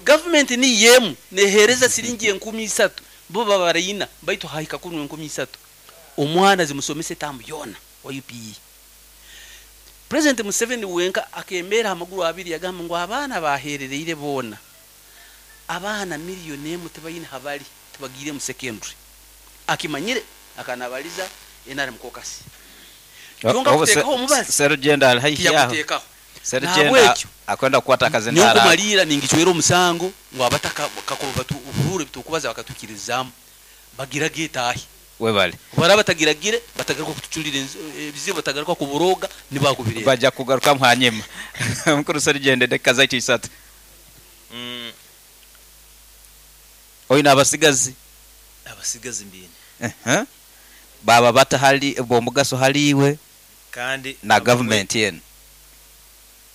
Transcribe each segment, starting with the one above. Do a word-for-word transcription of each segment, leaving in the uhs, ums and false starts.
Gavumenti niyo emu neheereza siringi enkumi isatu, bo babaraina baitu hahika kunu enkumi isatu, omwana zimusomesa etamu yoona wa U P E. President Museveni wenka akemera amaguru abiri, yagamba ngu abaana baherereire boona, abaana miliyoni emu tibaine habali, tibagiire mu secondary. Akimanyire akanabaliza N R M caucus. Kyonka kuteekaho omubazi Serugendo ali haihi aho. Tiyakuteekaho. Serugendo Nahabwekyo, akwenda kukwata akazindaro. Nyokumaliira ningicwera omusango ngu abataka kakuba batu obuhuru ebitukubaza bakatwikirizaamu bagiraga etaahi. Webale. Baraba batagiragire, batagaruka kutuculira enzi- ebizibu, batagaruka kuburoga nibakubireba. Bajja kugarukamu hanyuma. Mukuru Serugendo, edakika zaitu isatu. Mm, oyina abasigazi? Abasigazi mbine. Ehe. Baba bata hali b'omugaso haliiwe kandi na abamwe gavumenti enu?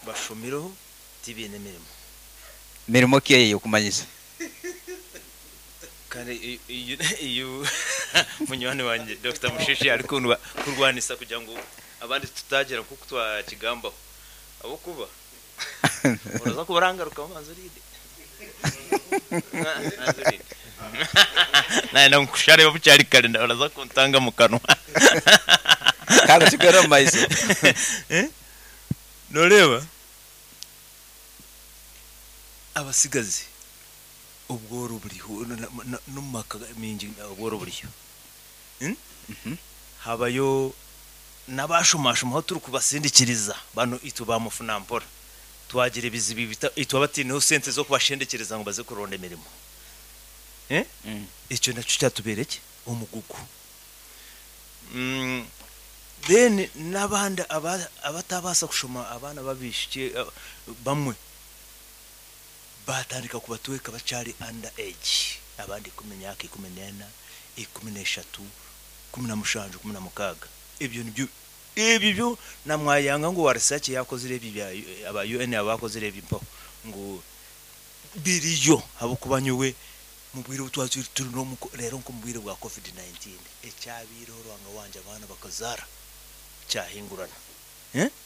Bashomireho, tibiine emirimo. Mirimo ki eyo yokumanyisa? Kandi iyo- iyo iyo munywani wanje Doctor Musheshi ari kundwa kurwanisa kugira ngo abandi tutagera nkuko twakigambaho, abo kuba uraza kuba urangaruka manzi urinde, manzi urinde naye nkushareba bucyari kare, uraza kuntanga mu kanwa. Kandi tugere omu maiso. Eh? Noreba abasigazi, obworo buriho no- no- no mu maka mingi, obworo buriho. Hmm? Mhm. Habayo n'abashomashoma aho turi kubasindikiriza bano itwe bamufuna mpora twagira ebizibu bita- itwe abatineho sente zo kubashendekereza ngo baze kuronda emirimo. Eh? Mm. Ekyo nakyo kyatubereke omugugu. Mm, then n'abandi aba- abatabasa kushoma, abaana babishike, eh, bamwe batandika kubatweka bacyari under age, abandi ikumi, myaka ikumi n'ena, ikumi n'eshatu, kumi na mushanju, kumi na mukaaga. Ebyo nibyo ebyo byo namwayanga ngo wa research yakozire ebi bya aba U N abakozire ebi mpaho ngo biriyo, habwokuba nyowe mu bwire butwaturi turi no mu- rero nko mu bwire bwa COVID nineteen ekyabiireho, rwanga wanje abaana bakazara kyahingurana.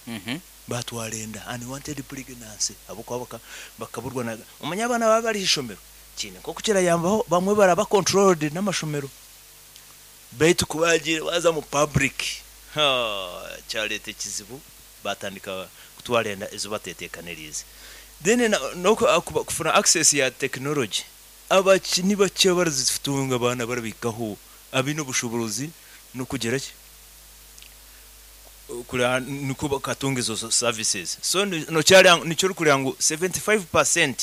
Mhm. Batwara enda, unwanted pregnancy, habwokuba baka- bakaburwa na umanya abaana baba bari ishomero kine nko kirayambaho, bamwe baraba controlled n'amashomero, baitu kubagira baza mu public, ha, kyaleta ekizibu, batandika kutwara enda ezo batetekanirize. Then na- no ku- kuba- kufuna access ya technology, abakini bake barazitunga, abaana barabikaho abine obushobozi no kugera ki kugira niko bakatunga izo services. So ni- no cyari nicyo kurira ngo mirongo irindwi n'itanu ku ijana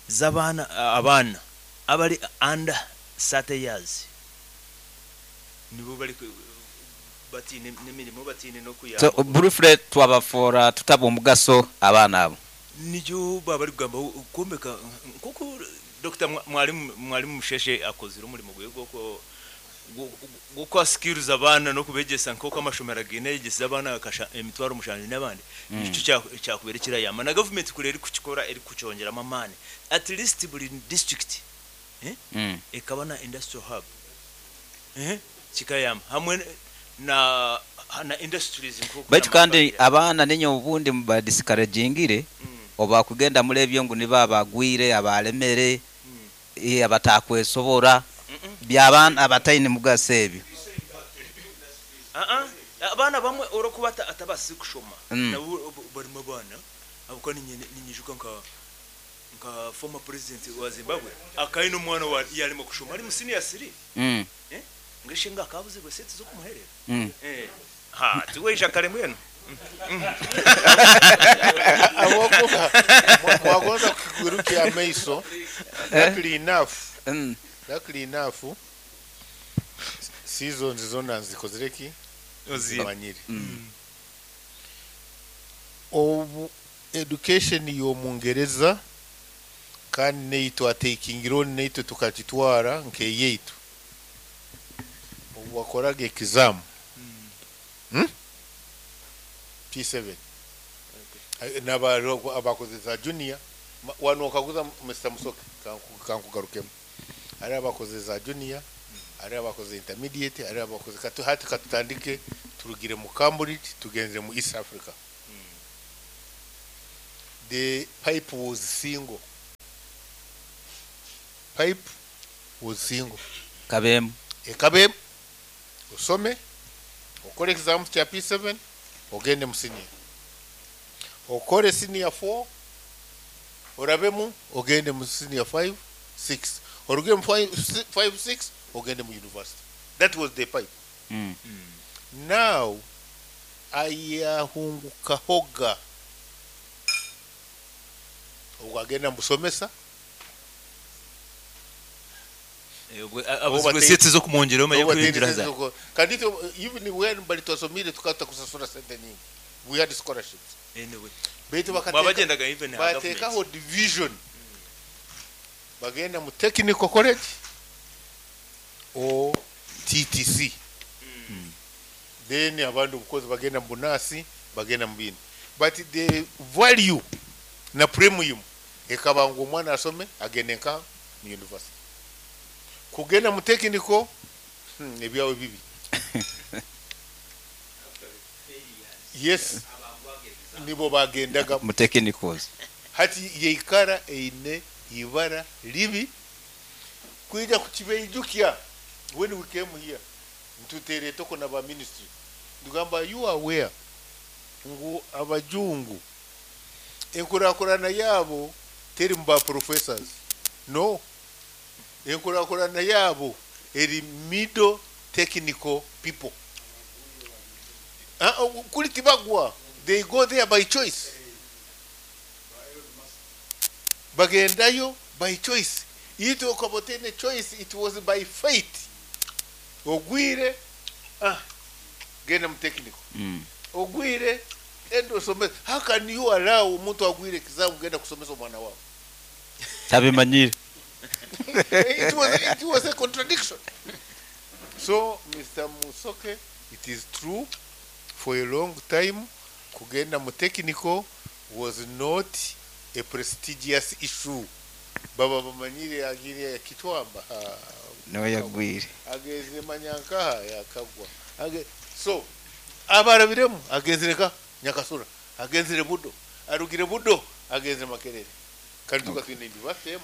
z'abana, abana abari under thirty years nibo bari ku- batine n'imirimo, batine no So kuyamba. Briefly, twabafora tutaba omugaso abaana abo. Nicyo baba bari kugamba kumbeka nkuko Doctor Mwalimu Mwalimu Musheshe akozire umurimo gwe gwo gukwa skills abana no kubegesa nk'uko amashomero agenda yegesa abana akasha emitwaro mushanju n'abandi. Nicyo cya- cyakubera kirayama na government kure eri kukikora, eri kucyongeramo amani, at least buri district Mm. ekaba na industrial hub, eh kikayamba hamwe na na industries nkuko Baitu kandi abaana ninyo obundi mubadiscouragingire oba kugenda muri ebyo ngu nibo abagwire, abalemere, eh, abatakwesobora, by'abaana abataine mugaso ebyo. Ah ah, abaana bamwe orokuba ata- atabasi kushoma, Mm. nabo barimo abaana abuko ninyijuka nka nka former president wa Zimbabwe akaine omwana wa yarimo kushoma ari mu senior three. Mm. Ngeshe nga akabuze bwe sente zo kumuherera. Mm. eh ha tuweisha kare mbwenu. Awokuba mwagonza kukigurukia amaiso, luckily enough, Mm. luckily enough, seasons zonna nzikozire ki, manyire. Mm. Obu education y'omungereza kandi neitwe atakingire on, neitwe tukakitwara nk'eyeitu, obu wakoraga exam, hmm? P seven, naba abakozesa junior. Ma- wano okaguza Mister Musoke, kanku- kankugarukemu, hari abakozesa junior, hari abakoze intermediate, hari abakoze katu. Hati katutandike turugire mu Cambridge, tugenze mu East Africa. The pipe was single. Pipe was single. Kabemu. Ekabemu osome, okole exams kya P seven, ogende mu senior, okole senior four, orabemu, ogende mu senior five six, oruge mu five six, ogende mu university. That was the pipe. Mm. Now ayahungukahoga obwo agenda musomesa. Abuzibwe sente zo kumwongera omanye kuyingira za. Kandi itwe, even when bali twasomire, tukata kusasura sente nyingi. We had scholarships. Anyway, baitu bakateka mwabagendaga even ha bateekaho government. Division, bagenda mu technical college or T T C, then abandi obukozi bagenda mu bunasi, bagenda mu bindi, but the value na premium ekaba ngu omwana asome agende nka mu university. Kugenda mu technical, hmm, ebyawe bibi. Yes, nibo bagendaga mu technicals. Hati yeikara eine ibara libi kwija kukibeijukya. When we came here, ntutere toko na ba ministry, ndugamba, "You are aware ngu abajungu enkurakurana yabo teri mu ba professors? No, enkurakurana yabo eri middle technical people." Ah, oh, kuli tibagwa, they go there by choice, bagendayo by choice. Itwe okaba otaine choice, it was by fate. Ogwire, ah, genda mu technical. Mm. Ogwire, enda osomesa. How can you allow omuntu agwire exam genda kusomesa omwana wawe? Tabimanyire. it was, it was a contradiction. So Mister Musoke, it is true, for a long time kugenda mu technical was not a prestigious issue. Baba bamanyire agire ya kitwamba. Ah, Niwe yagwire. Ageze manyankaha yakagwa. Age, so abarabiremu agenzire ka Nyakasura, agenzire Budo, arugire Budo, agenzire Makerere, kandi tukatwine university emu.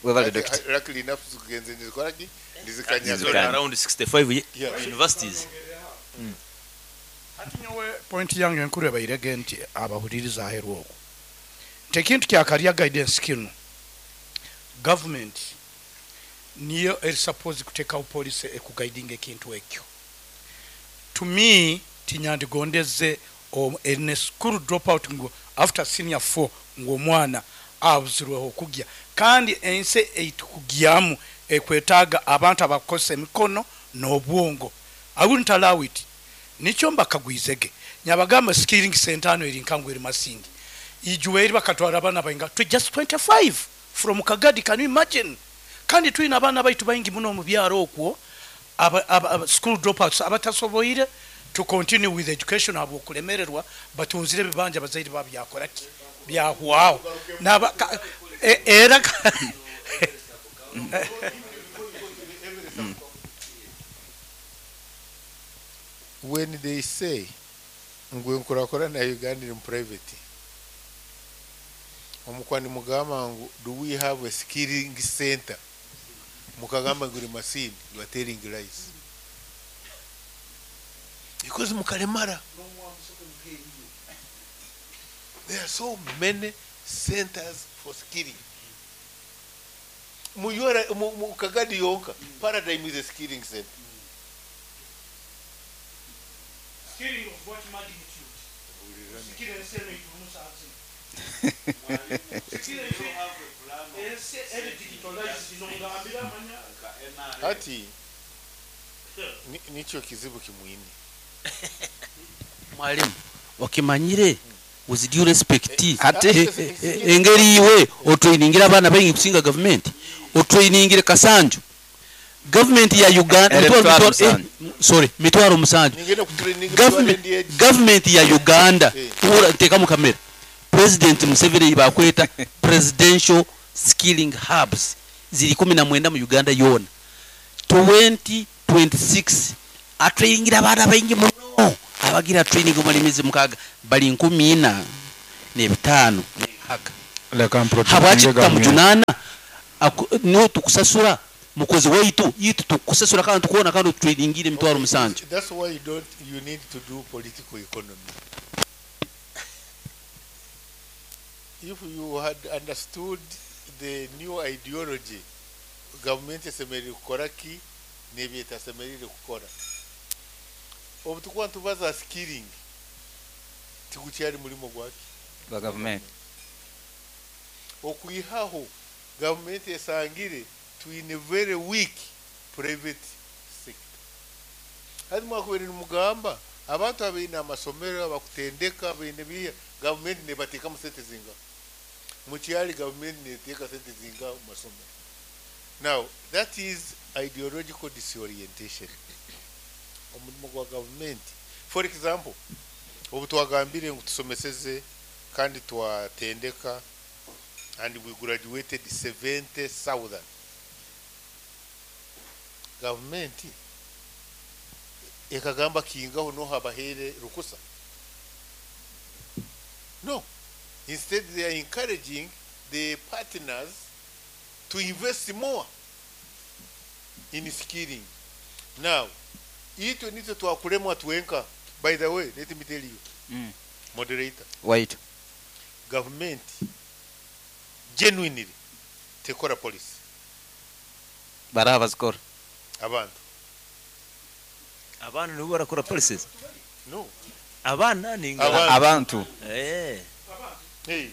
Webale, doctor. Luckily enough, tugenze ndizikoraki, ndizikanyaga. Ndizikanya. Around sixty-five ye- Yeah. universities. Hati nyowe point yange enkuru ebairege nti abahuliriza aheru okwo nti ekintu kya career guidance kino, government niyo eri suppose kuteekawo policy ekuguidinga ekintu ekyo. To me, tinyandigondeze ene school drop out ngu after senior four ng'omwana abuzirweho okugya, kandi ensi eitukugyamu ekwetaaga abantu abakozesa emikono n'obwongo. I wouldn't allow it. Nikyo mbakagwizege nyabagamba skilling center ano eri nkangu eri Masindi ijuwe eri bakatwara abaana bainga to just twenty-five from Kagadi. Can you imagine? Kandi tulina abaana baitu baingi muno mu byaro okwo aba, aba, aba school dropouts abatasoboire to continue with education habwokulemererwa, batunzire ebibanja bazaire babyakoraki byahwaho. Naba ka- e- era ka- When they say ngu enkurakurana ya Uganda iri mu private, omukwani mugamba ngu, "Do we have a skilling center?" Mukagamba ngu iri Masindi, you are telling lies, because mukalemara there are so many centers for skilling. Mu U R mu, mu Kagadi yonka, Paradigm is a skilling center. Skilling of what magnitude? Skilling ensi eno itumusa nsi. Skilling ensi eri digitalized nongambira amanya. Hati ni- nikyo kizibu kimwine. Mwalimu wakimanyire, with due respect, Ate- eh, eh, eh, engeri iwe otrainingira abaana baingi kusinga gavumenti, otrainingire kasanju gavumenti ya Uganda. Era mitwalo- mitwalo mitwalo- eh, sorry, mitwalo musanju. Ningenda kutraining. Government- gavumenti ya Uganda. Eh. Ura nteeka mu kamera, President Museveni bakweta presidential skilling hubs ziri kumi na mwenda mu Uganda yona. twenty twenty-six atrainingira abaana baingi muno, abagira training omara emyezi mukaaga bali nkumi ina n'ebitaano n'enkaga. Leka Habwaki mprotectinge government. tutamujunana? Aku- niwe tukusasura mukozi waitu, itu tukusasura kandi tukuona kandi otutradingire emitwaro musanju. That's why you don't you need to do political economy. If you had understood the new ideology, government esemerire kukora ki n'ebi etasemerire kukora. Obu tukuba nitubaza skilling, tigukyari murimo gwaki? Gwa gavumenti. Okwihaho gavumenti esangire twine very weak private sector. Hati mwakubaire nimugamba abantu abaine amasomero abakutendeka baine biya, gavumenti nebateekamu sente zinga? Mukyali gavumenti neteeka sente zinga mu masomero? Now that is ideological disorientation. Omurimo gwa gavumenti, for example, obu twagambire ngu tusomeseze kandi twatendeka and we graduated seventy thousand. Gavumenti ekagamba kingaho no habahere rukusa. No. Instead they are encouraging the partners to invest more in skilling. Now, itwe nitwe twakulemwa twenka. By the way, let me tell you. Mm. Moderator. Wait. Government genuinely tekora policy. Baraba zikora. Abantu. Abana nibo barakora policies. No. Abana ni nga. Abantu. Abantu. Eh. Hey.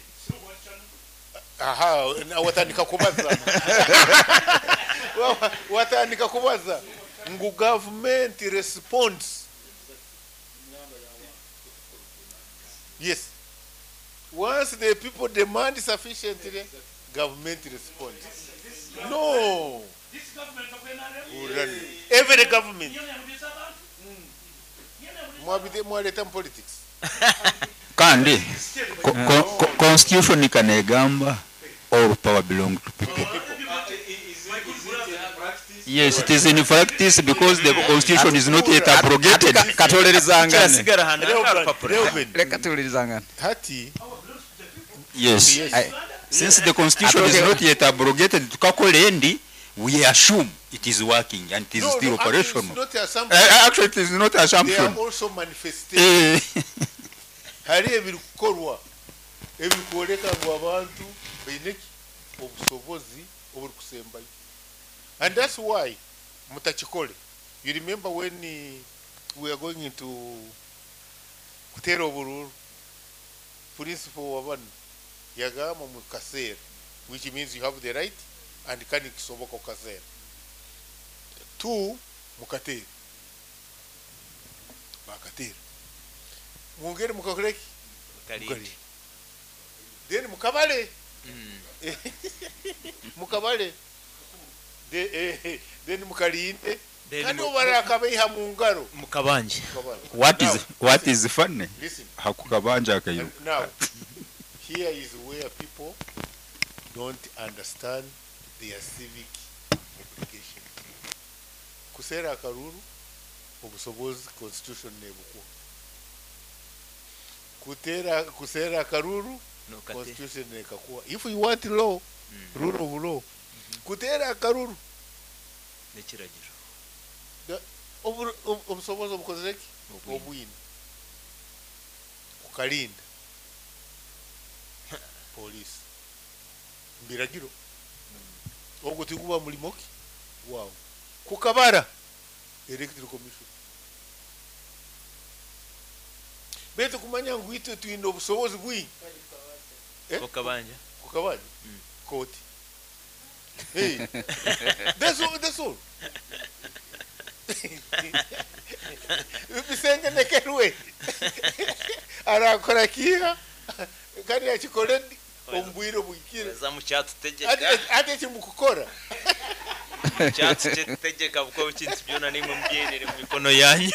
Aha, na watandika kubaza. Watandika kubaza. Ngu government response. Yes. Once the people demand sufficiently, government responds. No. This government of N R M. Every government. Mwabide mwaleta mu politics. Kandi ko, ko, ko, constitution ikanegamba all power belong to people. Yes, it is in practice because the constitution is not yet abrogated. Katolerezangane. Kirasigara hano Reuben, Reka tuwulirizangane. Hati. Yes. Yes. Ai- Since the constitution is not yet abrogated, tukakole endi, we assume it is working and it is No, still no, actually it's operational. not assumption. Uh, actually, it is not They assumption. are also manifestation. Eh, Hari ebirikorwa ebirikwoleka ngu abantu baine ki obusobozi oburikusembayo. And that's why mutakikole. You remember when we are going into kutera obururu, principal wa bano yagamba mu kaseera, which means you have the right and kandi kisoboka kukaseera. Two, mukateera. Bakateera. Mwongere mukakoreki? Mukalinde. Then mukabale. Mukabale. De, eh, then mukalinde. Kandi obarakabeha mu ngaro. Mukabanje. Mukabale. what is Now, what is funny? Listen. Hakukabanja akayo. Now, here is where people don't understand their civic obligation. Kusera akaruru, obusobozi constitution nebukuwa. Kutera kusera akaruru, constitution nekakuwa. If you want law, mm. rule of law. Mm-hmm. Kutera akaruru nekiragiro. Obusobozi obukozeki obwine. Kukalinda police mbiragiro ogwo tiguba mulimoki wow kukabara electoral commission betu kumanya ngu itwe twine obusobozi bwingi eh? Kukabanja kukabanja mm. Koti hey that's all, that's all. Bisenge nekerwe arakora kiha kandi yakikore ombwire bwikire za mucyatutegeka ate kimukukora cyatutegeka buko bikintu byona nimwe mubyenere mu mikono yanyu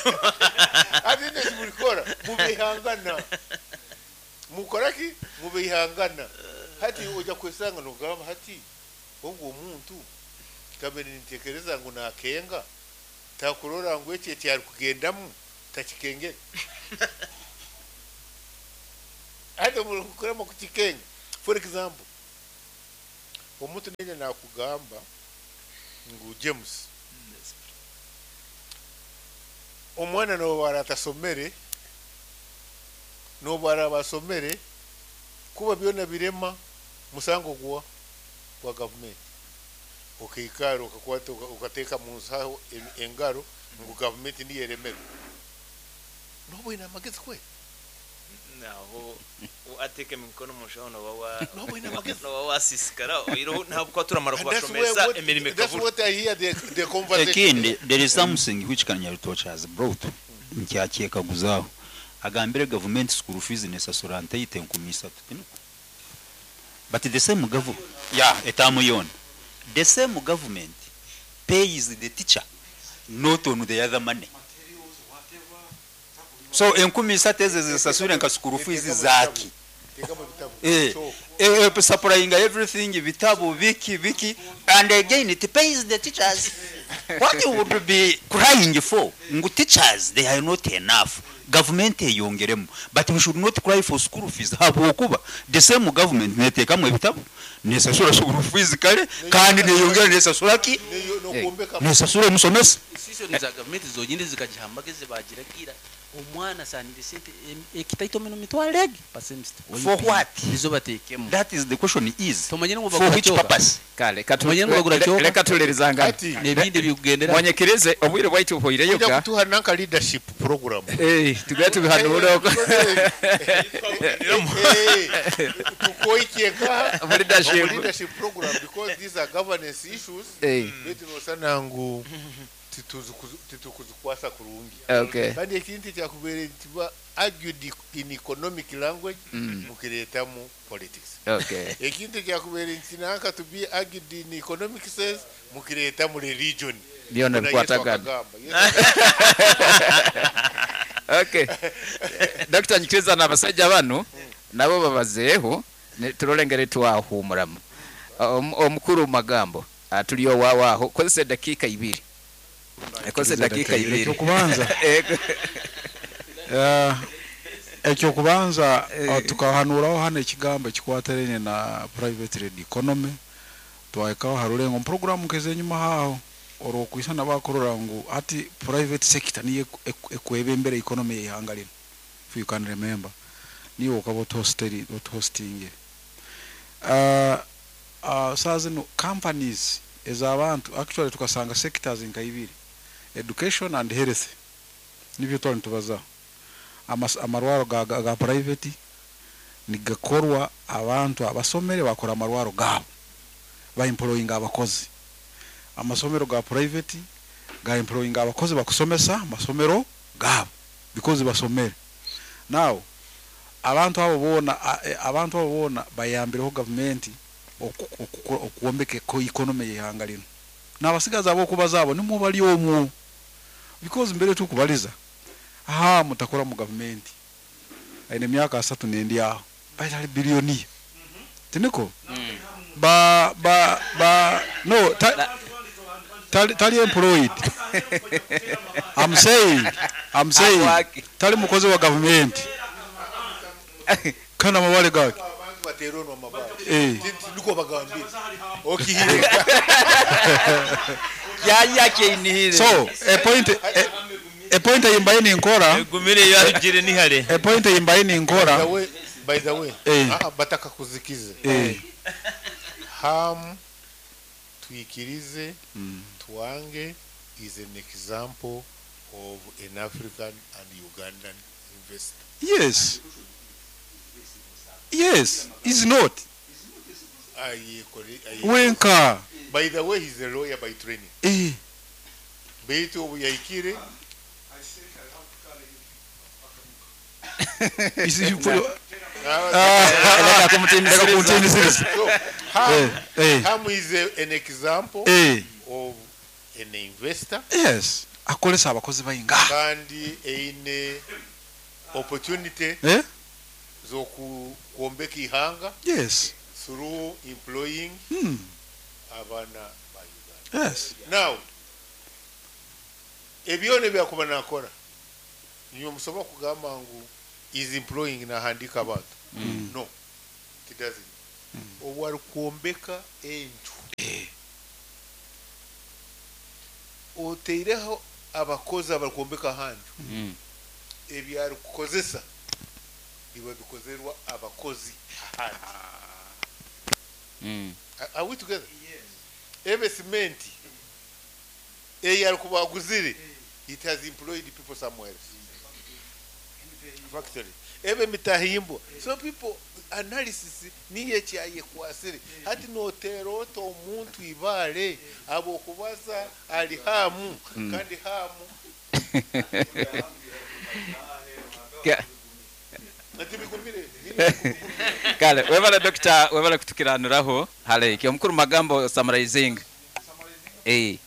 ate kimukora mubihangana mukora ki mubihangana hati ujya kwesanga nugamba hati ubwo omuntu kamere nitekereza ngo nakenga takurora ngo eki eki ari kugendamu takikengera ate mukuramo kukikenga. For example, Omuntu nene nakugamba ngu James omwana noba atasomere, noba arabasomere, kuba byona birema musango gwa gwa gavumenti. Okaikara okakwata oka- okateeka mu nsaho en- engaro ngu gavumenti niyo eremere, noba oine amagezi kwe? Naho ateka emikono mu nshaho noba wa Noba oine amagezi. Noba wasisikara oireho ntabwo turamara And that's where kubashomesa what- emirimo that's ikabura. what I hear the, the conversation. Ekindi, there is something which Kanyarutoki has brought nkyakyegaguzaho. Agambire gavumenti school fees nesasura nteite enkumi isatu, tinuko? But the same government, yeah, etamu yona, the same government pays the teacher, not on the other money. So enkumi isatu ezo zisasure nka school fees zaki? Teeka mu bitabo. Eh, So, eh, eh, supplying everything, bitabo biki biki, and again it pays the teachers. What you would be crying for, ngu teachers they are not enough, government eyongeremu, but we should not cry for school fees habwokuba the same government neteekamu ebitabo, nesasura school fees kale, kandi neyongera nesasura ki? neyo- n'okwombeka. Nesasura omusomesa. Institution za gavumenti zonyine zikagiha amagezi bagiragira omwana asanire sente em- ekitaito mino mitwaro egi per semester. For what? Nizo bateekemu. That is the question is, Tumanyire ngu for bagura which kyoka. purpose? Kale katu- Tumanyire ngu bagura le- kyoka. leka tulerizangana. Kati N'ebindi bikugendera. Mwanyikirize obwire bwaitu ojja buhwireyoka. kutuha nanka leadership program. Eh, tugende tubihanure oko. Tukoikyeka Omu leadership. leadership program, because these are governance issues. Eh, Baitu nosana ngu tituzukuzu- titukuzikwasa kurungi. Okay. Kandi ekintu kyakubeere ntiba argued in economic language, Mm. mukireetamu politics. Okay. Ekintu kyakubeere nti nanka to be argued in economic sense, mukireetamu religion. Byona Kuna Yesu bikwatagana. akagamba. Yesu. Okay. Dr. Nyikiriza n'abasajja bano nabo babazeeho ne turole twahumuramu. Om- omukuru mu magambo ah, tuli owawaaho, kozesa eddakiika ibiri, kozesa eddakiika ibiri. Ekyokubanza, Ego. eh, ekyokubanza, Eh. eh, tukahanuraho hano ekigambo ekikwatiraine na private led economy. Twahikaho harulengo program nkeze enyuma haho orwokwisana bakurora ngu ati private sector niyo eku- eku- ekwebembera economy y'ihanga lino. If you can remember, niyo okaba otuhosteri otuhostingire. uh, uh, saa zino companies ez'abantu, actually tukasanga sectors nka ibiri, education and health, nibyo twali nitubazaho. Amas- amarwaro ga, ga, ga private nigakorwa abantu abasomere, bakora amarwaro gabo, baemployinga abakozi. Amasomero ga private ga employinga abakozi bakusomesa amasomero gabo because basomere. Now abantu abo bona a- e, abantu abo bona bayambireho gavumenti oku- oku- okwombeka eko- economy y'ihanga lino. N'abasigazi abokubaza abo nimwo bali omwo, because mbere tukubaliza aha mutakora mu gavumenti aine emyaka asatu nendi aho baitali biliyoniya, tiniko ba ba ba no ta, tali, tali employed. I'm saying, I'm saying Awaki. tali mukozi wa gavumenti kana amabale gake. Abantu bateeronwa amabaale. Eh. Niko bagambire okihire. Yayakeinihire. So a point a, a point eyimbaye ninkora. Egumire yarugire nihare. A point eyimbaye By the ninkora. way, by the way, Eh. ah, bataka kuzikize. Eh. Ham twikirize Mm. twange is an example of an African and Ugandan investor. Yes, yes, is not. Ayekore- aye- Wenka. By the way, he's a lawyer by training. Eh. Beitu obu yahikire Is- Leka kumutinisiriza. Leka kumutinisiriza. So, Ham, Eh, eh. Ham is a, an example Eh. of an investor. Yes, akolesa abakozi bainga. Kandi eine opportunity Eh? z'okwombeka ihanga Yes. through employing Hmm. abaana ba Uganda. Yes. Now ebyona ebyakuba nakora, niwe musobola kugamba ngu is employing nahandika abantu? No, it doesn't. Obwarikwombeka enju oteireho abakozi abarikwombeka ahanju, Mm. ebyarikukozesa biba bikozerwa abakozi ahandi. Mm. Are- are we together? Ebe simenti eyarikuba aguzire, it has employed people somewhere else, factory ebe mitahimbwa. So people analysis niyo ekyayekwasire hati notera ota omuntu ibale abokubaza ali hamu kandi hamu. Ka- Ati bigumire. Kale, webale doctor, webale kutukiranuraho hale omukuru magambo summarizing eh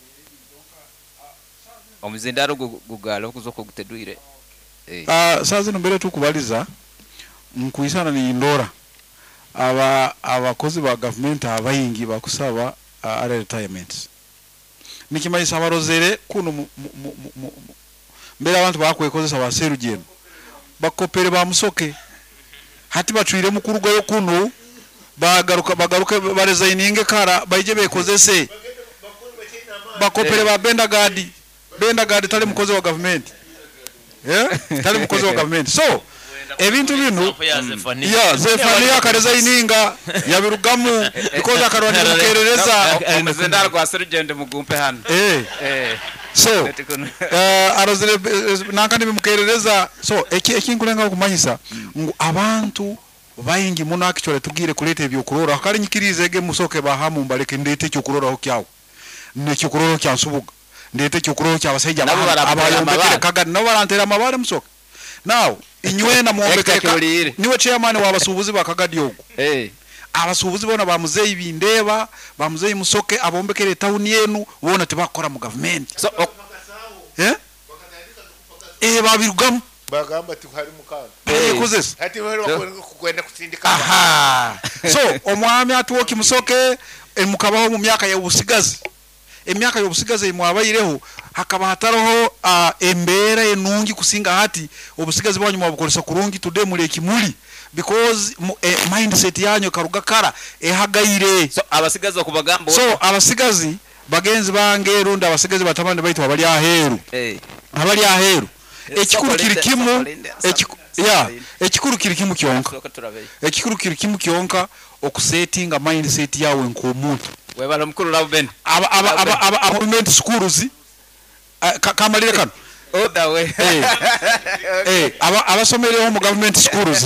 omuzindaro gu- gugala okuzoka gutedwire eh Ah, saa zino mbere tukubaliza nkuisana ni ndora aba abakozi ba gavumenti abayingi bakusaba uh, early retirement. Nikimanyisa abarozere kuno mu- mu- mu- mu- mu- mbere abantu bakwekozesa baserugendo bakopere bamusoke hati bacwire mukurugayo kuno bagaruka bagaruke baresigninge kara baije bekozese bakopere ba Bendagadi. Bendagadi tali mukozi wa gavumenti, yeah? Tali mukozi wa gavumenti. So ebintu bino Example ya Zephania. Ya Zefania akaresigninga yabirugamu because akarwanira mukerereza. Omuzindaro gwa serugendo mugumpe hano. Eh. Eh. So Leti kuno. uh, arozere eh, nankandi bimukerereza. So eki ekinkulenga okumanyisa ngu abantu baingi muno actually tugire kuleta ebyokuroraho. Kale nyikirize ege musoke bahamu mbaleke ndete ekyokuroraho kyawe nekyokuroraho kya Nsubuga, ndete ekyokuroraho kyabasajja Nabo barantera abayombekere amabare. Kagadi nabo barantera amabare. Musoke now inywena mwombekere Hector Kibuliire. Niwe chairman w'abasuubuzi ba Kagadi ogwo. Eh. Abasuubuzi bona bamuzeyi bindeba bamuzeyi Musoke abombekere tawuni yenu bona tebakora mu gavumenti. So ok- eh eh babirugamu. Bagamba ti hari mukanda. Bayekozesa. Hati bari kwenda kusindika. Aha, so omwami atuwoki Musoke eh, mukabaho mu myaka y'obusigazi, emyaka y'obusigazi emwabaireho hakaba hataroho uh, embeera enungi kusinga hati. Obusigazi bwanyu mwabukozesa kurungi today muli ekimuli because mu, eh, mindset yanyu karuga kara ehagaire. So abasigazi okubagamba. So abasigazi bagenzi bange rundi abasigazi batabani baitu abali aheeru, eh abali aheeru, ekikuru kiri Sokolinde, kimu. sokolinde, ekiku- ya sokolinde. Ekikuru kiri kimu kyonka. Soka turabe. Ekikuru kiri kimu kyonka, okusetinga mindset yawe nk'omuntu. Webale omukuru Lauben. Aba aba aba aba government schools eh, ka- kamalire kano. Other way. Eh, eh, aba abasomereho mu government schools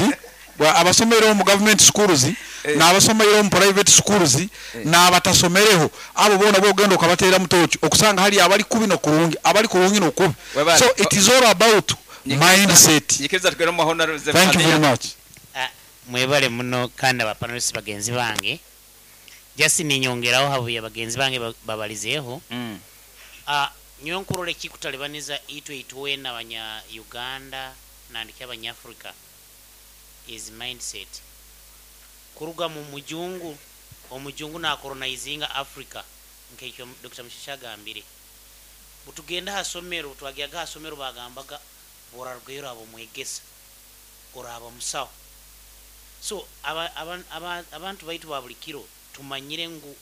bwa- abasomereho mu government schools n'abasomereho mu private schools n'abatasomereho, abo bona bogenda okabateera mutoki okusanga hali abali kubi nokurungi, abali kurungi nokubi. Webale. So it is all about mindset. Nyikiriza tugere mu honorable. Thank you very much. Ah, mwebale muno kandi abapanelist bagenzi bange. Just ninyongeraho habuye bagenzi bange ba- babalizeeho. Mm. Ah, nyowe nkurora ekikutalibaniza itwe itwena abanya Uganda nandiki abanyafrika is mindset kuruga mu mujungu. Omujungu nakolonizinga Africa nkekyo Doctor Mushasha agambire. Butugenda hasomero, twagyaga hasomero bagambaga borarugaiyo oraba mwegesa oraba musawo. So aba, aba, aba, abantu baitu ba buli kiro tumanyire ngu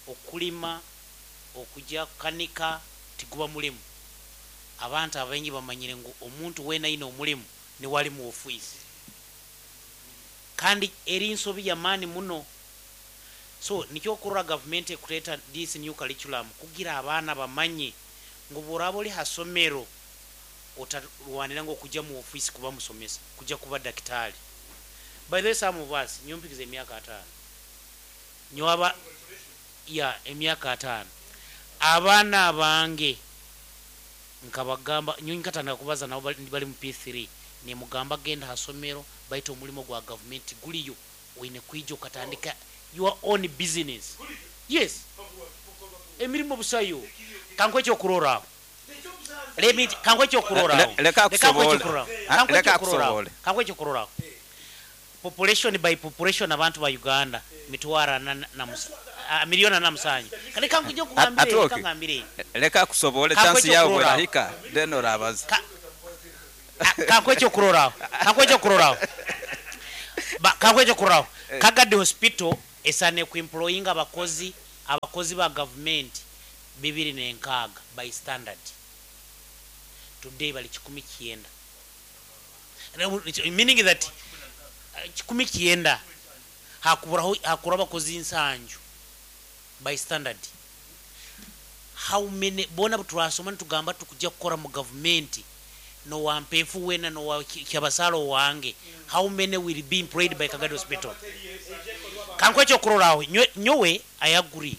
okulima okujja kukanika tiguba mulimu. Abantu abaingi bamanyire ngu omuntu wena ayina omulimu niwali mu ofiisi, kandi eri nsobi yamaani muno. So nikyo okurora gavumenti ekureeta this new curriculum kugira abaana bamanye ngu bworaba oli hasomero otarwanira ngu okujja mu ofiisi kuba musomesa kujja kuba dakitaali. By the way, some of us nyompikiza emyaka ataano nywaba ya emyaka ataano abaana bange nkabagamba nyo nkatandika kubaza nabo bali bali mu P three nemugamba genda hasomero baita omulimu gwa gavumenti guliyo oyine kwija okatandika your own business. Yes, emirimu busayo. Kankwe ekyokuroraaho. Let me kankwe ekyokuroraaho. Le- leka akusobole. Ah, leka akusobole. Kankwe ekyokuroraaho. Population by population abantu ba Uganda mitwaro ana na mus- ah, miliyoni ana na musanju. Kale kankujja okugambire. Atuoke. Kangambire. Leka akusobole. Kankwe Chance yawe ekyokuroraaho. bwerahika then orabaza. Ka- Ah, kankwe ekyokuroraaho kankwe ekyokuroraaho Ba- kankwe ekyokuroraaho. Kagadi Hospital. Esaana ekuemployinga abakozi abakozi ba gavumenti bibiri nenkaaga by standard. Today bali kikumi kyenda, meaning that uh, kikumi kyenda hakuburaho hakura abakozi nsanju by standard. How many bona butwasoma nitugamba tukujja kukora mu gavumenti nowampefu wena nowa kyabasalo wange, how many will be employed by Kagadi Hospital? Kankwe ekyokuroraho, nyowe I agree,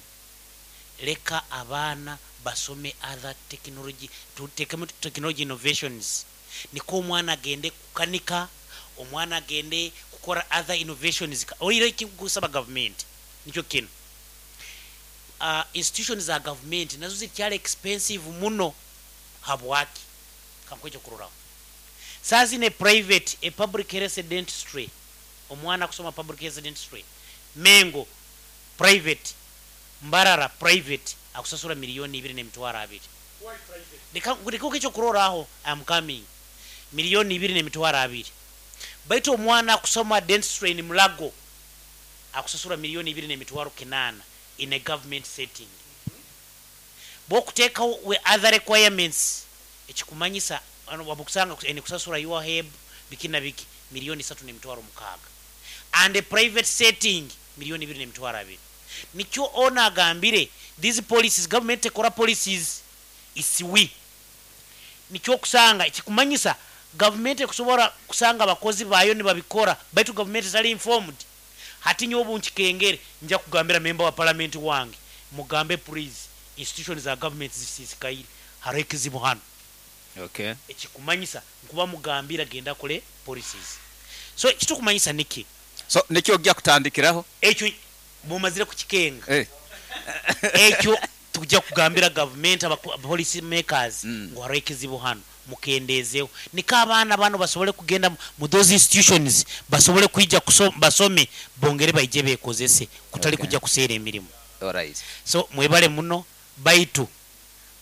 leka abaana basome other technology, tutekemu technology innovations, niko omwana agende kukanika, omwana agende kukora other innovations. Oire ekigusaba gavumenti nikyo kino, uh, institutions za gavumenti nazo zikyali expensive muno. Habwaki? Kankwe ekyokuroraho, saa zino private a public health dentistry, omwana kusoma public health dentistry Mengo private, Mbarara private, akusasura miliyoni ibiri n'emitwaro abiri. Leka ekyokuroraho, am coming. Miliyoni ibiri n'emitwaro abiri, baitu omwana akusoma dentistry in Mulago akusasura miliyoni ibiri n'emitwaro kinaana in a government setting. Bwokuteekawo we other requirements, ekikumanyisa wabukusanga ene kusasura U H E B biki na biki, miliyoni satu n'emitwaro mukaaga, and a private setting miliyoni ibiri n'emitwaro abiri. Nikyo ona agambire these policies, government ekora policies isiwi. Nikyo okusanga ekikumanyisa gavumenti ekusobola kusanga abakozi bayo nibabikora, baitu gavumenti etali informed. Hati nyowe obu nkikengere, nja kugambira member wa parliament wange, mugambe please, institution za government zisisikaire, hariho ekizibu hano. Okay. Ekikumanyisa nkuba mugambira genda kole policies. So kitukumanyisa niki? So nikyo ojja kutandikiraho? Ekyo bumazire kukikenga, eh. Ekyo tujja kugambira gavumenti, aba policy makers, Mm. ngu hariho ekizibu hano, mukendeezeho, niko abaana bano basobole kugenda mu those institutions, basobole kwija kuso- basome, bongere baije bekozese, kutali Okay. kujja kuseera emirimu. Alright. So mwebale muno, baitu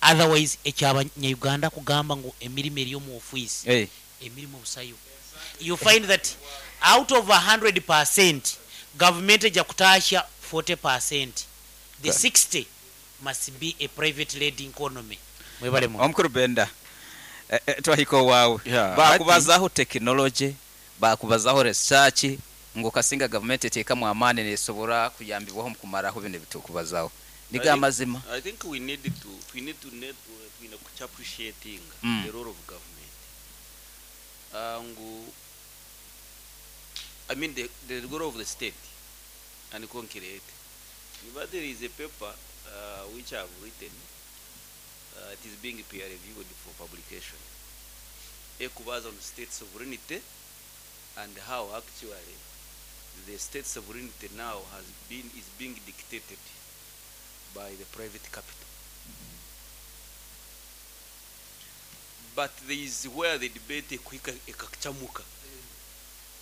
otherwise ekyabanyayuganda kugamba ngu emirimu eri omu ofiisi, Eh. emirimu obusayo. You find that out of one hundred percent government ejja kutaasha forty percent, the sixty must be a private led economy. Mwebale muno. Omukuru Benda, eh, eh, twahika owaawe. Yeah, Bakubazaho technology, bakubazaho research, ngo kasinga gavumenti eteekamu amaani nesobora kuyambibwaho mu kumaraho bino ebitukubazaho, niga I think- amazima. I think we need to we need to need twine kucha appreciating Mm. the role of government. Uh, ngu I mean the the role of the state and concrete. But there is a paper uh, which I have written. Uh, it is being peer reviewed for publication. Ekubaza on state sovereignty and how actually the state sovereignty now has been is being dictated by the private capital. But there is where the debate ekuhika ekachamuka.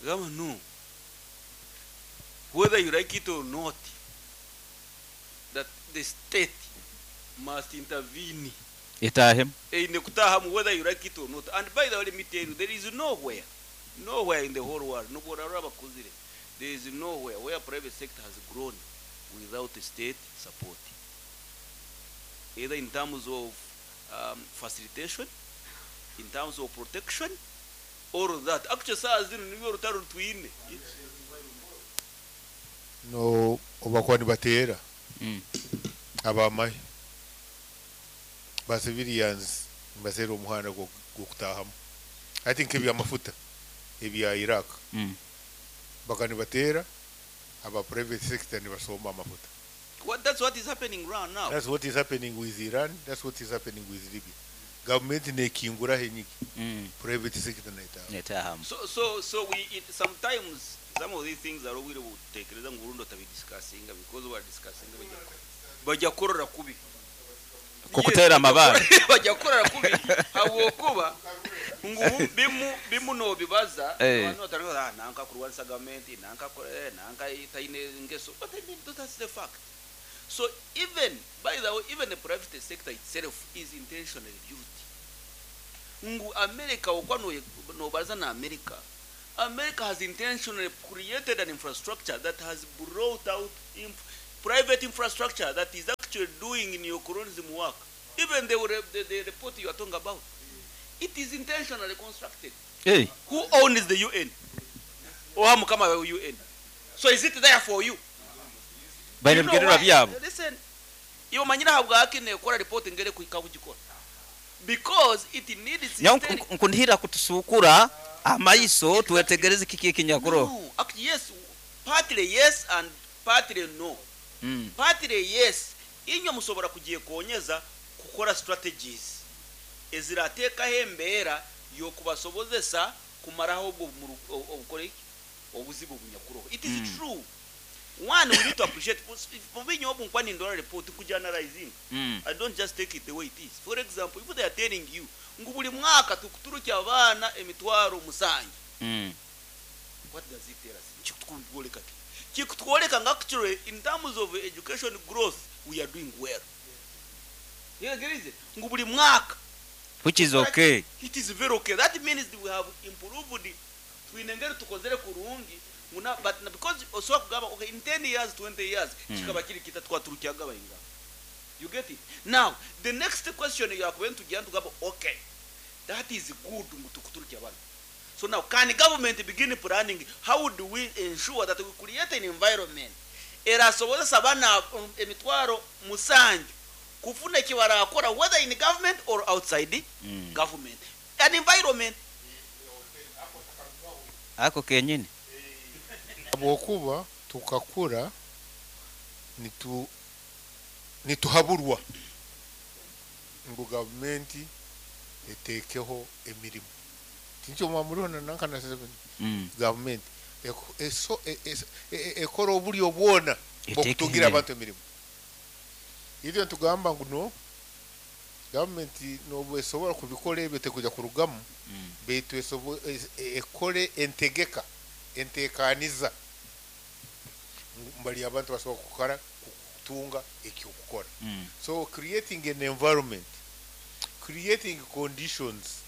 Gama no. Whether you like it or not, that the state must intervene. Etahemu. Eine kutahamu whether you like it or not. And by the way, let me tell you, there is nowhere, nowhere in the whole world, nobora abakuzire, there is nowhere where private sector has grown without state support. Either in terms of um, facilitation, in terms of protection, all of that. Actually, saa zino nibyo rutaro twine. No obakuba nibateera Mm. abamahe ba civilians nibaseera omuhanda gwo- gw'okutahamu. I think ebyamafuta ebya Iraq, Mm. baka nibateera aba private sector nibasomba amafuta. What, that's what is happening right now. That's what is happening with Iran, that's what is happening with Libya. Government nekingura henyigi, Mm. private sector naitaha. Netahamu. So, so, so we it, sometimes some of these things are really butekereza ngu urundo tabidiscussinga because we are discussing bajya bajya korora kubi. Kukutera amabare. Bajya korora kubi habwokuba ngu bimu bimu nobibaza, Eh. abantu batari ah nanka kurwanisa gavumenti, nanka kore nanka itaine ngeso, but I mean that's the fact. So even by the way, even the private sector itself is intentionally built. Ngu America okwa no nobaza na America America has intentionally created an infrastructure that has brought out inf private infrastructure that is actually doing neocolonialism work. Even the, the, the report you are talking about, it is intentionally constructed. Hey. Who owns the U N? Oha mukama wa U N. So is it there for you? Baine You know bigererwa why? byabo. Listen, iwe manyira habwaki nekora report ngere kuhika kugikora. Because it needs Nyawo systemic nkundihira kutusukura amaiso twetegereze kiki ekinyakuro. No, actually yes, partly yes and partly no. Mm. Partly yes, inywe musobora kugyekonyeza kukora strategies ezirateekaho embeera y'okubasobozesa kumaraho obwo obukore iki obuzibu bunyakuroho. It is Mm. true. One, we need to appreciate mubinyo obu nkwani ndora report kujanalizing. Mm. I don't just take it the way it is. For example, if they are telling you ngu buli mwaka tukuturukya abaana emitwaro musanju. Mm. What does it tell us? Kikutwoleka ki? Kikutwoleka nga actually in terms of education growth we are doing well. You agree? Ngu buli mwaka. Which is okay. It is very okay. That means we have improved. Twinengere tukozere kurungi. Muna, but na because osobola kugamba okay in ten years twenty years Mm. kikaba kiri kita twaturukyaga bayinga. You get it? Now the next question you are going to get to gamba okay that is good mutukuturukya abantu. So now can government begin planning how do we ensure that we create an environment erasobozesa abaana emitwaro musanju kufuna ekibarakora whether in government or outside mm. government an environment ako kenyini Habwokuba tukakura nitu nituhaburwa ngu gavumenti etekeho emirimu tinkyo mwamuriho na nankana seven mm. gavumenti eso ekora obulyo bwona bwokutungira abantu emirimu. Ibyo ntugamba ngu no gavumenti nobwo esobola kubikora ebyo tekuja kurugamu mm. beitu ekore entegeka entekaniza mbali abantu basobola kukora kutunga ekyokukora mm. So creating an environment, creating conditions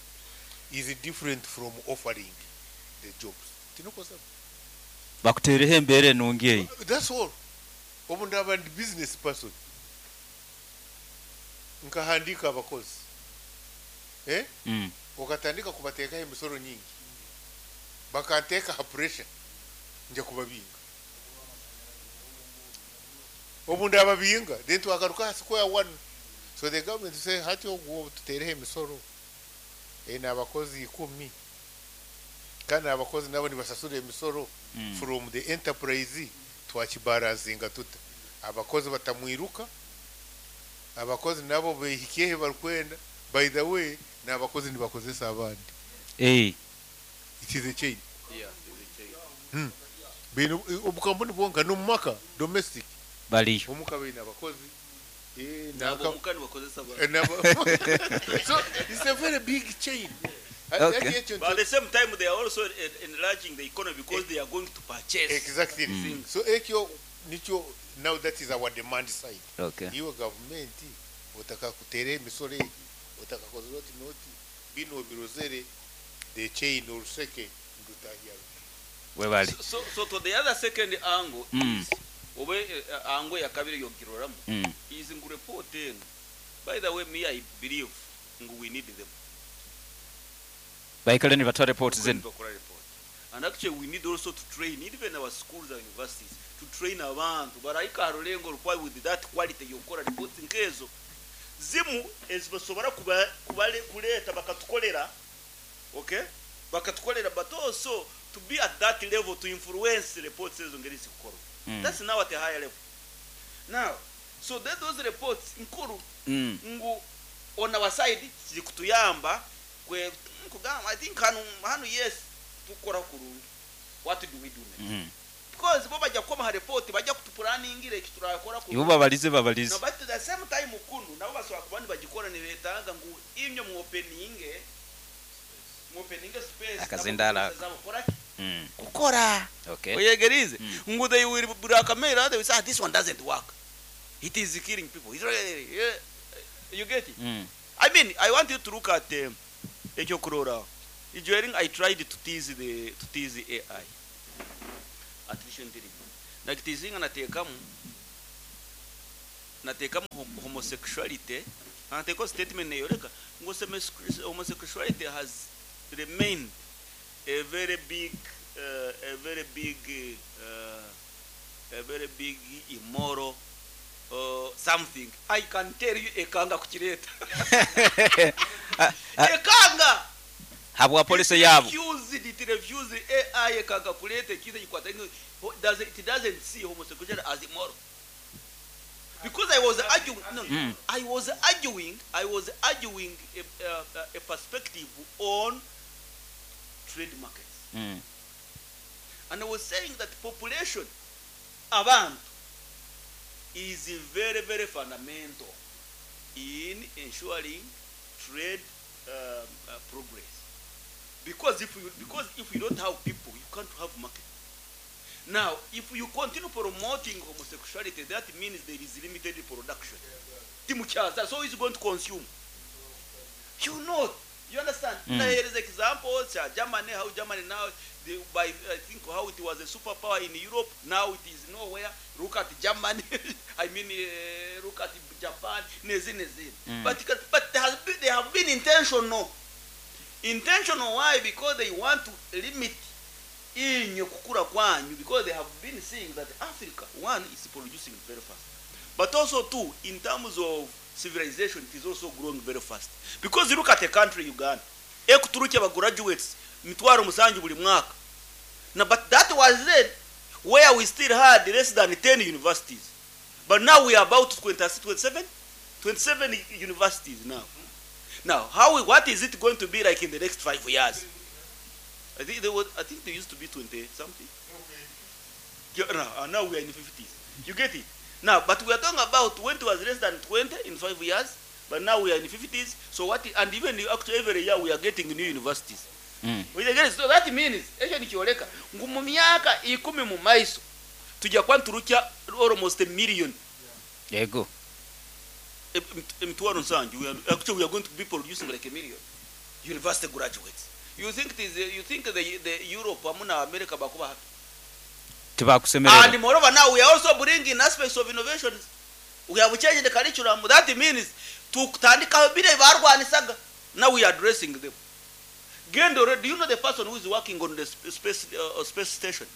is different from offering the jobs. Tinokosa bakutereho embere enungi eyi. That's all. Obu ndaba ndi business person nkahandika abakozi eh mm. okatandika kubateekaho emisoro nyingi bakanteeka ha pressure nja kubabinga obu ndababinga then twagaruka ha square one. So the government say hati ogwo tuteereho emisoro eh n'abakozi ikumi kandi abakozi nabo nibasasura emisoro mm. from the enterprise twakibaransinga tuta abakozi batamwiruka abakozi nabo behikyehe barikwenda. By the way n'abakozi nibakozesa abandi eh it is a chain. Yeah, it is a chain. Hmm. Bino obukampuni bwonka n'omumaka domestic baliyo omuka baine abakozi eh nabo omuka nibakozesa abandi. So it's a very big chain. Okay. But at the same time they are also enlarging the economy because they are going to purchase. Exactly. Mm. So ekyo nikyo now that is our demand side. Okay. Iwe government otaka kutere emisoro egi otaka kozera oti noti bino birozere the chain oruseke ndutahya webali. So, so, so to the other second angle mm. is obe uh, angle ya kabiri yogiroramu mm. is ngu report eno. By the way me I believe ngu we need them. Baikale ni batwa report zenu. And actually we need also to train even our schools and universities to train abantu baraika rulengo rukwa with that quality yokora reports nkezo zimu ezibasobora kuba kubale kuleta bakatukolera okay bakatukolera but also to be at that level to influence reports ezo ngeri zikukora mm. That's now at a higher level now. So that those reports nkuru mm. ngu on our side zikutuyamba kwe kugamba I think hanu hanu yes tukora kurungi. What do we do next? Mm. Because bo bajya koma report bajya kutuplanningira ekiturakora ibo babalize babalize no, but at the same time kunu nabo baswa kubandi bagikora ni betanga ngu imyo mu opening mu opening space akazindala mm. kukora okay oyegerize mm. ngu they will blackmail they will say this one doesn't work, it is killing people. It's really, yeah. You get it? Mm. I mean I want you to look at um, ekyo kurora During I tried to tease the to tease A I, artificial intelligence. Nakiteasinga, nateekamu nateekamu hom- homosexuality, nateekaho statement neyoreka ngu homosexu- homosexuality has remained a very big uh, a very big uh, a very big immoral uh, something. I can tell you, ekanga kukireeta, ekanga. Habwa policy yabo. Refused, it refused. A I ekanga kuleta ekintu ekikwata, does it doesn't see homosexuality as immoral, because I was arguing, no, Mm. I was arguing I was arguing a, a, a perspective on trade markets, Mm. and I was saying that population, abantu, is very, very fundamental in ensuring trade um, uh, progress, because if you because if you don't have people, you can't have market. Now, if you continue promoting homosexuality, that means there is limited production. Timukyaza, so is going to consume you know You understand? Mm. Now here is example uh, Germany, how Germany now, they, by I think how it was a superpower in Europe, now it is nowhere. Look at Germany, I mean, uh, look at Japan, nezi nezi. Mm. But but there has been, they have been intentional. Intentional why? Because they want to limit inyo kukura kwanyu, because they have been seeing that Africa, one, is producing very fast, but also two, in terms of civilization, it is also growing very fast, because you look at a country, Uganda, ekuturuki aba graduates mitwaro musanju buli mwaka na, but that was then where we still had less than ten universities, but now we are about twenty, twenty-seven twenty-seven universities now. Now how, what is it going to be like in the next five years? I think there was, I think there used to be twenty something. Yeah, no, uh, now we are in the fifties. You get it? Now, but we are talking about when it was less than twenty in five years, but now we are in the fifties. So what, and even actually every year we are getting new universities. Mm. We get it? So that means, ekyo nikyoleka ngu mu myaka ikumi mu maiso tujja kuba nturukya almost a million. Yego. Emitwaro nsanju. We are, actually we are going to be producing like a million university graduates. You think it is, you think the, the Europe hamu na America bakuba happy? Tibakusemerera. And moreover, now we are also bringing aspects of innovations. We have changed the curriculum. That means tutandika bile barwanisaga. Now we are addressing them. Gendo, do you know the person who is working on the sp- space uh, space station?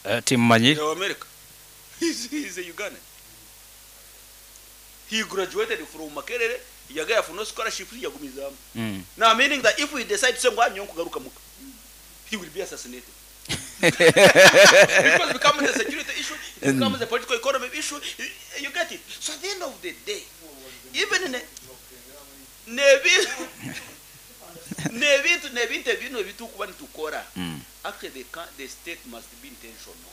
Uh, timmanyi. In America. He's, he's a Ugandan. He graduated from Makerere, yagaya for no scholarship, yagumizamu. Mm. Now meaning that if we decide to say ngo kugaruka muka, he will be assassinated, because it becomes a security issue, it becomes a political economy issue. You get it? So at the end of the day, even in a n'ebintu n'ebintu n'ebintu ebino ebitukuba nitukora, Mm. actually the, ca- the state must be intentional.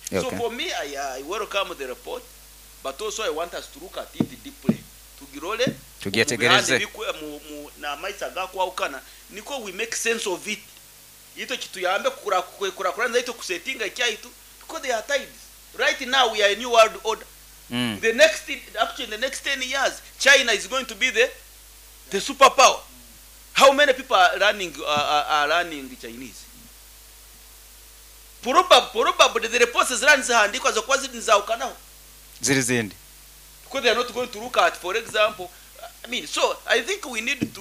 So Okay. for me, I, I welcome the report, but also I want us to look at it deeply, tugirole Tugyetegereze. mu bihande bikwe- mu- mu- n'amaiso agakwawukana, niko we make sense of it, ito kituyambe kukurakuranza ito kusetinga ekyaitu, because they are tides. Right now we are a new world order. Mm. The next, actually in the next ten years, China is going to be the the superpower. How many people are learning uh, are, are learning Chinese? probably probably the reports zirani zihandikwa zokuba ziri nizawukanaho Ziri zindi. Because they are not going to look at, for example, I mean, so I think we need to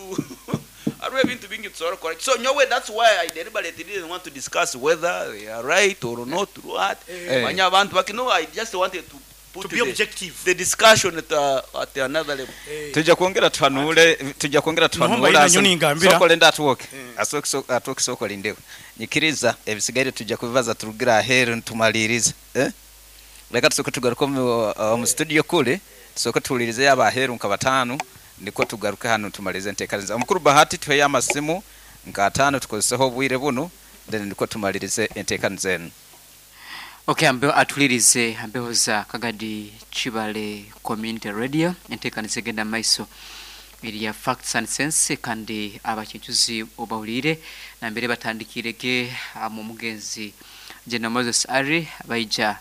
hariho ebintu bingi tusobola correct. So nyowe, that's why I deliberately didn't want to discuss whether they are right or not, what Eh. manya abantu baki. No, I just wanted to put To be the, objective. the discussion at, uh, at another level. Tujja kwongera tuhanule, tujja kwongera Nuhumba tuhanule. ina nyoni ngambira. Sokole ndatuwoke atuoke lindeho nyikiriza ebisigaire tujja kubibaza turugira aheru ntumalirize, eh? Leka tusooke tugaruke omu uh, mu studio kule, tusooke tuwulirize abaheru nka bataano, niko tugaruke hano tumalirize enteekaniza. Omukuru Bahati, tuheyo amasimu nka ataano tukozeseho obwire buno, then niko tumalirize enteekaniza enu. Okay, ambeho atulirize ambeho za Kagadi Chibale Community Radio, enteekaniza egenda maiso erya Facts and Sense, kandi abakincuzi obawulire nambere batandikirege mu mugenzi General Moses Ari baija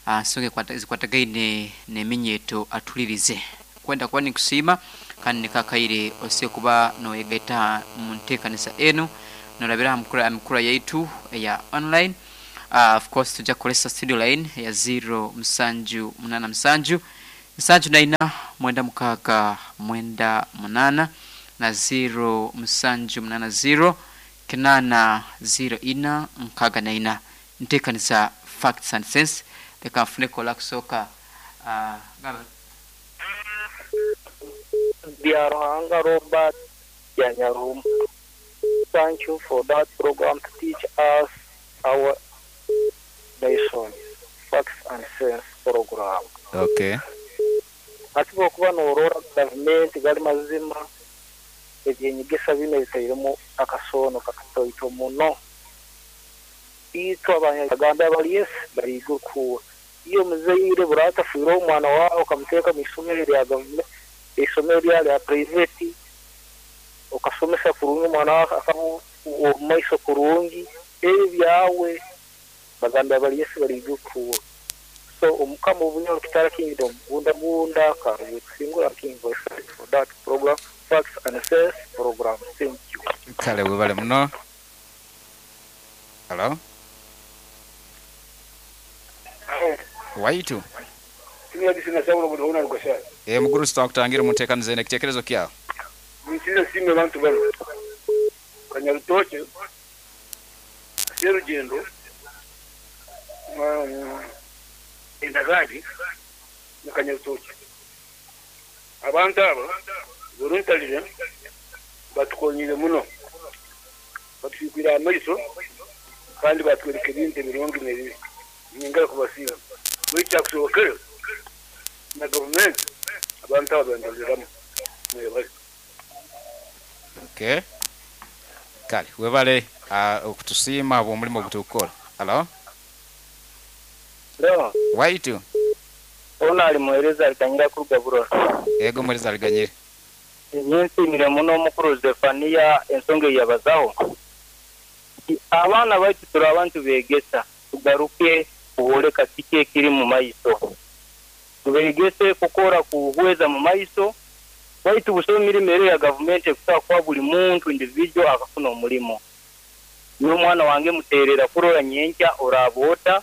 ah, nsonga ekwata- zikwatagaine n'eminyeto. Atulirize kwenda kuba nikusiima. Kandi nikakaire ose kuba noyegaita mu nteekanisa enu norabira aha mukura mikura yaitu eya online. Uh, of course tujja kukolesa studio line ya zero musanju munana musanju nsanju naina mwenda mukaaga mwenda munana na zero musanju munana zero kinana zero ina nkaaga naina. Nteekanisa Facts and Sense. Leka nfuneko olakusooka uh, gamba. Byaruhanga Robert Yanyarum. Thank you for that program to teach us our nation. Facts and Sense program. Okay. Ati bwokuba norora gavumenti gali mazima ebyenyegesa bino bitairemu akasono kakatoito muno. Itwe abanyaganda bali yes bariga kuwa. Iyo muzeire buratafiire omwana wawe okamuteeka mu isomero lya gavumenti, isomero lya lya private, okasomesa kurungi omwana wawe akaba omu maiso kurungi, ebyo byawe baganda bali yes bariga kuwa. So omukama obunyoro Kitara Kingdom gunda gunda karuye kusingura King Voice for that program, Facts and Sense program. Thank you. Kale webale muno. Hello. Waitu. Eh muguru sitakutangira mutekanize nekitekerezo kyawo. Nsize sime bantu bano. Kanyarutoke. Serugendo. Endagadi na Kanyarutoke. Abantu abo voluntarily batukonyire muno. Batufikwira amaiso kandi batwereka ebintu ebirungi n'ebibi. Nyingara kubasiima. Muri kyakusoboka na gavumenti abantu abo bandoleramu. Mwebale. Okay. Kale webale uh, okutusiima bw'omulimu ogutukora. Hello. Leo Waitu. ona ali muhereza alikanyira kuruga Burora. Ego muhereza aliganyire. Nyensimire muno omukuru Zefania ensonga yabazaho. Abaana baitu turi abantu begesa tugaruke kuholeka kiki ekiri mu maiso. Tubegese kukora kuhweza mu maiso baitu busoma emirimo ero ya gavumenti ekusobola kuha buli muntu individual akafuna omulimo. N'omwana wange muterera kurora nyenkya oraaba ota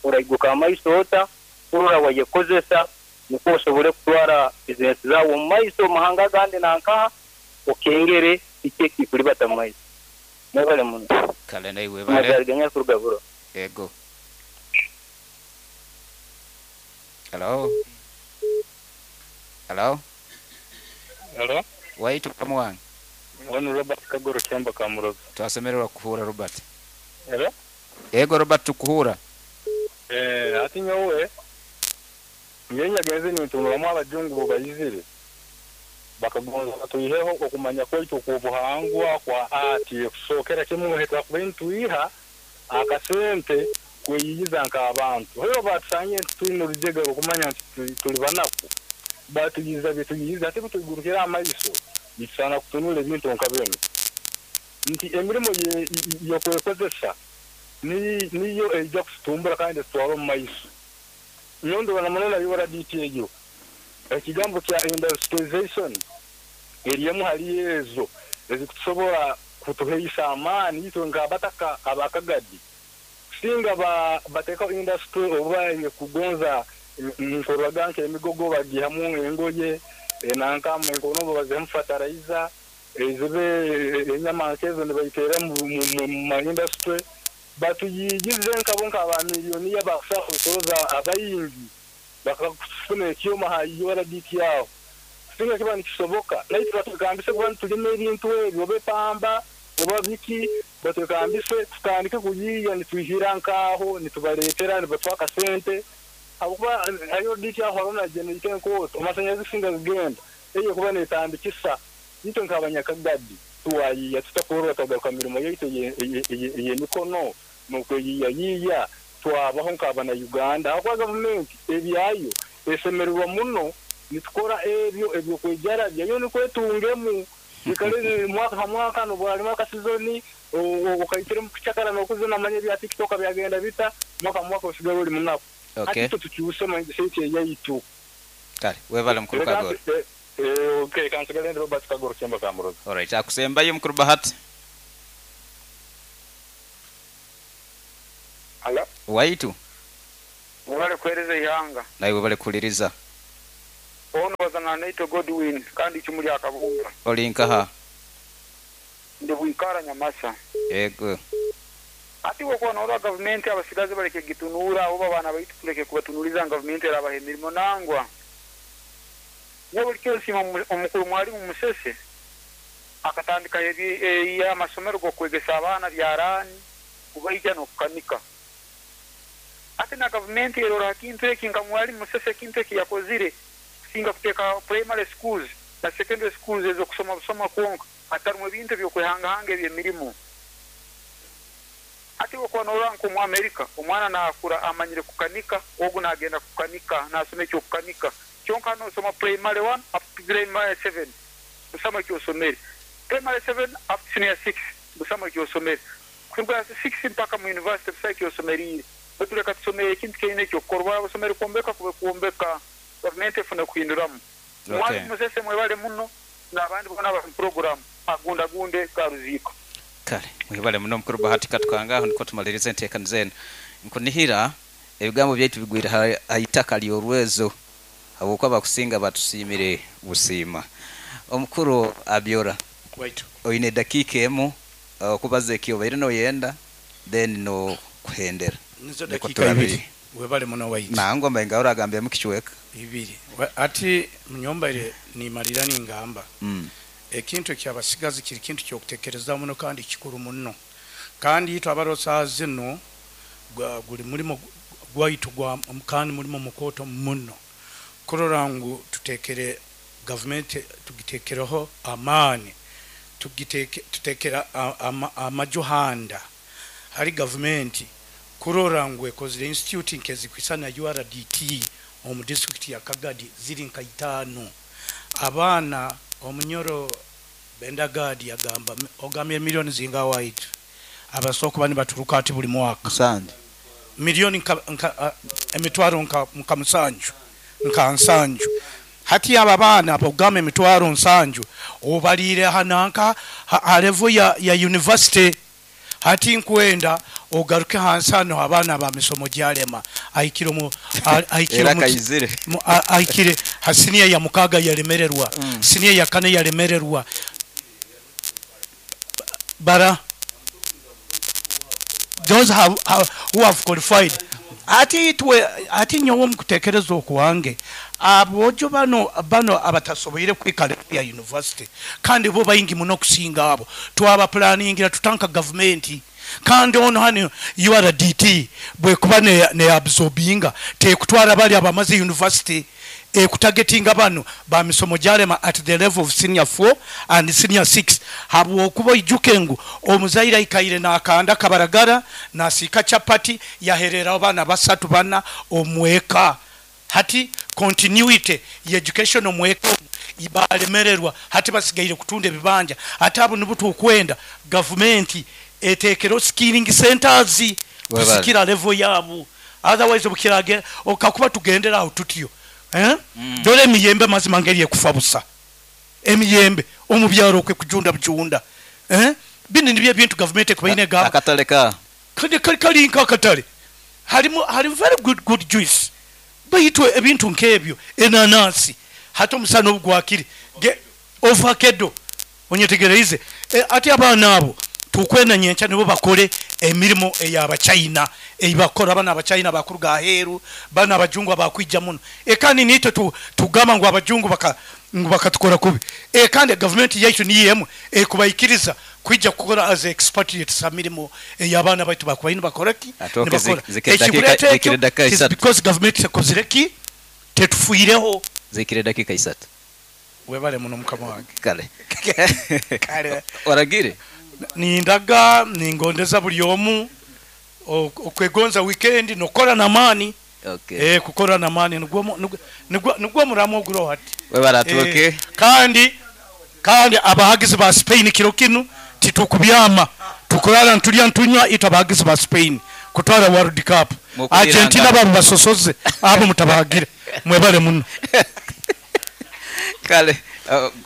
oraiguka amaiso ota kurora wayekozesa nikwo osobole kutwara bizinesi zawe omu maiso omu mahanga agandi nankaha okengere kiki ekikuribata mu maiso. Mwebale muno. Kale naye webale. Mazariganya kuruga Burora. Ego. Hello. Hello. Hello. Waitu kamuwange. Wano Robert Kagoro Kyamba Kamuroza. Twasemererwa kuhura Robert. Hello. Ego Robert tukuhura. Eh ati nyowe nyenye genze nitunulamu abajungu bo bayizire bakagonza batuiheho okumanya kwaitu kubuhangwa kwa ati kusokera kimwe hetwa kubintuiha akasente kweyigiza nk'abantu. Heyo batusanye tuli rujega okumanya nti tuli banaku batuyiza bituyiza ate butugurukira amaiso bisana kutunula ebintu nka bino nti emirimo yokwekozesa ni niyo ejja kutumbura kandi tutwara omu maiso. Nyondo bana yora D T eyo ekigambo kya industrialization erimu hali ezo ezikutusobola kutuheisa amaani itwe nk'abataka abakagadi singa ba bateka industry oba kugonza nkorwaga nke emigogo bagihamu engoye nanka enkono bazemu fertilizer ezibe enyama nkezo nibayitera mu industry batuyigize nkabo nkaba miliyoni y'abakusa kusoza abayingi bakakufuna ekyoma hayora D T yawo singa kiba nikisoboka naye batukambise kuba tulime ebintu ebyo bepamba oba biki batukambise tutandike kuyiya nituhira nkaho nitubaletera nibatwaka sente abukuba ayo D T yaho harona generate enkoto amasanyazi singa zigenda eyo kuba netandikisa nito nk'abanyakagadi tuwayiya tutakorora twagaruka mirimo yaitu ey'emikono n'okweyiya yiya twabaho nk'abana Uganda aho kwa gavumenti ebyayo esemererwa muno nitukora ebyo ebyokwejarabya yo nikwetungemu ikale mwaka ha mwaka nobwalima akasizoni okaitire mu kucakara n'okuzina manye bya TikTok byagenda bita mwaka mwaka osigala oli munaku. Okay. Ati tukyuse mindset yaitu. Kale webale mukuru Kagoro. Eh, okay kansigale ndi Robert Kagoro Kyemba Kamuroza. Alright, akusembayo mukuru Bahati. Alo. Waitu Mwebale kuhereza ihanga. Naiwe bale kuliriza. Ono bazana naito Godwin kandi chumuli akabunga. Olinkaha. Ndi bwikara Nyamasa. Yego. Ati wako naora government abasigazi baleke gitunura oba bana baitu tuleke kubatunuliza government erabaha emirimo nangwa. Nyo kyosima omukuru mwalimu Musese akatandika ebi amasomero gokwegesa abaana byarani kubaija n'okukanika. Ate na government erora kintu eki nka mwalimu Musese kintu eki yakozire kusinga kuteeka primary schools na secondary schools ezo kusoma busoma kwonka atarimu ebintu ebyokwehangahanga eby'emirimo. Ate wako naora nko mu Amerika omwana nakura amanyire kukanika ogu nagenda kukanika nasoma ekyo kukanika kyonka nosoma primary one up to primary seven busama kyosomere primary seven up to senior six busama kyosomere kuruga six mpaka mu university busama kyosomerire batuleka tusomere ekintu kyine ekyokukorwa basomere kwombeka kube kwombeka government efuna kuhinduramu. Okay. Mwalimu Musese mwebale muno n'abandi bona bari mu program agunda gunde karuziko. Kale mwebale muno mukuru Bahati katukangaho niko tumalirize enteekaniza eno. Nkunihira ebigambo byaitu bigwire ha itaka ly'orwezo habwokuba bakusinga batusiimire busiima. Omukuru Abyora, waitu oine dakiika emu okubaza ekyobaire noyenda then no kuhendera. Nizo dakika ibiri. Webale muno waitu. Nangwa mbainga oragambye mu kichweka ibiri. Ati munyomba ile nimalira ningamba. Mm. Ekintu kyabasigazi kiri kintu kyokutekereza muno kandi kikuru muno. Kandi itwe abarosa zino guli mulimo gwaitu gwa kandi mulimo mukoto muno. Kurora ngu tutekere government tugitekereho amani tugiteke tutekera amajuhanda hari government kurora ngu ekozire institute nkezi kwisana U R D T omu district ya Kagadi ziri nka itano. Abaana omunyoro Bendagadi yagamba ogamye milioni zinga waitu abasoko bani baturuka ati buli mwaka musanju milioni nka, nka emitwaro nka, nka musanju nka nsanju. Hati aba baana abogame emitwaro nsanju obalire hananka ha level ya, ya university. Hati nkwenda ogaruke hansano abaana ba misomo gyalema aikire mu aikire mu aikire hasinia ya mukaga yalemererwa mm. Sinia ya kane yalemererwa bara those have, have who have qualified. Ati itwe ati nyowe mukutekereza okuwange abojo bano bano abatasoboire kwikala ya university kandi bo bayingi muno kusinga abo twaba planningira tutanka government kandi ono hani U R D T bwe kuba ne, ne absorbinga te kutwara bali abamaze university e kutagetinga bano ba misomo gyalema at the level of senior four and senior six habwo okuba ijuke ngu omuzaira ikaire na akanda kabaragara nasika chapati yaherera abana basatu bana omweka. Hati continuity ye education omweka ibalemererwa hati basigaire kutunda ebibanja ate abo nibutu okwenda government etekero skilling centers kusikira level yabo otherwise obukirage okakuba tugendera aho tutyo eh mm. Dole emiyembe mazima ngeri ekufa busa emiyembe omubyaro kwe kujunda bujunda eh bini nibye bintu government ekubaine gaba akataleka kali kali kali nka akatale halimu hali very good good juice bayitwe ebintu nkebyo enanasi hata omusana obugwakiri avocado onyetegereize e, ati abaana abo tukwena nyencha nibo bakole emirimo ey'abachina eyibakora abana abachina bakuruga aheru bana abajungu abakwija muno e kandi nitwe tu, tugamba ngu abajungu baka ngu bakatukora kubi e kandi government yaitu niyemu e kubaikiriza kwija kukora as expatriates amirimo ey'abaana baitu bakubaine bakora ki nibakora zikire dakika isatu because government ekozire ki tetufuireho zikire dakika isatu webale muno mukama wange kale kale oragire nindaga ningondeza buli omu okwegonza weekend nokora namani. Okay. Eh kukora namani nigwo nigwo nigwo muramo oguro hati webara tuke eh, kandi kandi abahagizi ba Spain kiro kinu titukubyama tukurara ntulya ntunywa ito abahagizi ba Spain kutwara World Cup Argentina babo basosoze abo mutabahagire mwebale muno. Kale